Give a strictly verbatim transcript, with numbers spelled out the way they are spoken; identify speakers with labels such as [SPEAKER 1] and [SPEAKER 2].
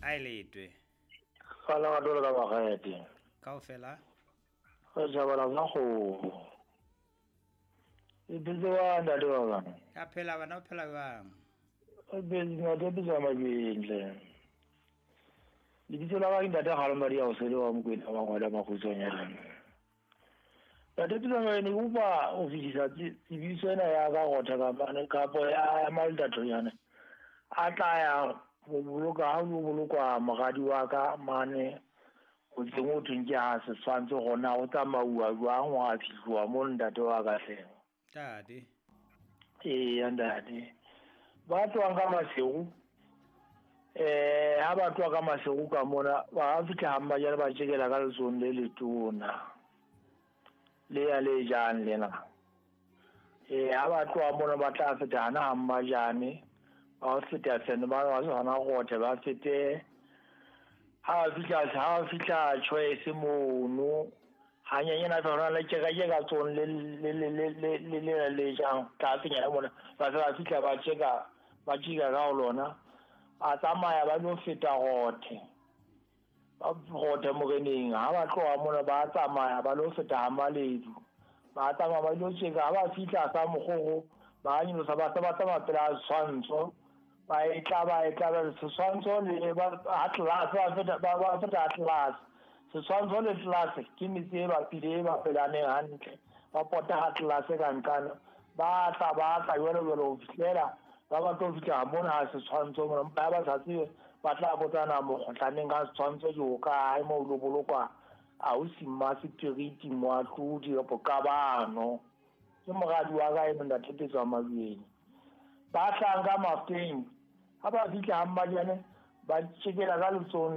[SPEAKER 1] A e letwe.
[SPEAKER 2] Ka la ka dole ka bagete.
[SPEAKER 1] Kaofela.
[SPEAKER 2] Re tjhabela sa kgomo. E phetse wa ntate wa ka.
[SPEAKER 1] Ka phela bana o phela jwang?
[SPEAKER 2] E phetse ntate Pitso Mabentle. Lebitso la ka ke ntate Kgalomadi ya Osele wa Mokwena wa Ngwala Makgutswanyane. Ntate Pitso Mabentle ke kopa ho fetisa tsebiso ena ya ka rotha ka mane kapo ya Maldatonyane. A tla ya ho boloka ha ho bolokwa moradi wa ka mane ho tseng ho thweng ke ha setshwantsho hona ho tsamauwa jwang ho a fihluwa mo ntate wa ka hle.
[SPEAKER 1] Ntate.
[SPEAKER 2] Eya ntate. Ba tlohang ka Maseru, eh ha ba tloha ka Maseru ka mona ba fihla ha Mmajane ba tjekela ka letsohong le letona. Le ya le jang lena. Eh ha ba tloha mona ba tla feta hana ha Mmajane. Ba feta sene ba ba hona rothe ba fete ha fihla ha fihla Choice mono hanyenyana fa hona le tjeka tjeka tsone le le le le le le le jang tlasenyana mona ba se ba fihla ba tjeka ba tjeka ka ho lona a tsamaya ba lo feta rothe ba rothe moreneng ha ba tloha mona ba tsamaya ba lo feta ha Maledu ba tsamaya ba lo tjeka ha ba fihla sa Mokgoro ba nyolosa ba se ba tsamaya pela setshwantsho ba e tla ba e tla setshwantsho le ba ha tlase ba feta ba ba feta tlase setshwantsho le tlase ke metse e bapile e bapelaneng hantle ba pota ha tlase ka nqana ba tla ba tla jwalo jwalo ho fihlela ba ba tlo fihla mona ha setshwantsho mona ba ba sa tsebe ba tla botsana mokgotlaneng ka setshwantsho ke ho kae mo lo bolokwa ausi Mmasepiriti Moatlodi kapo Kabano ke moradi wa ka e ntate Pitso Mabentle ba tlang ka Mafeng ha ba fihla ha Mmajane ba tjekela ka letsohong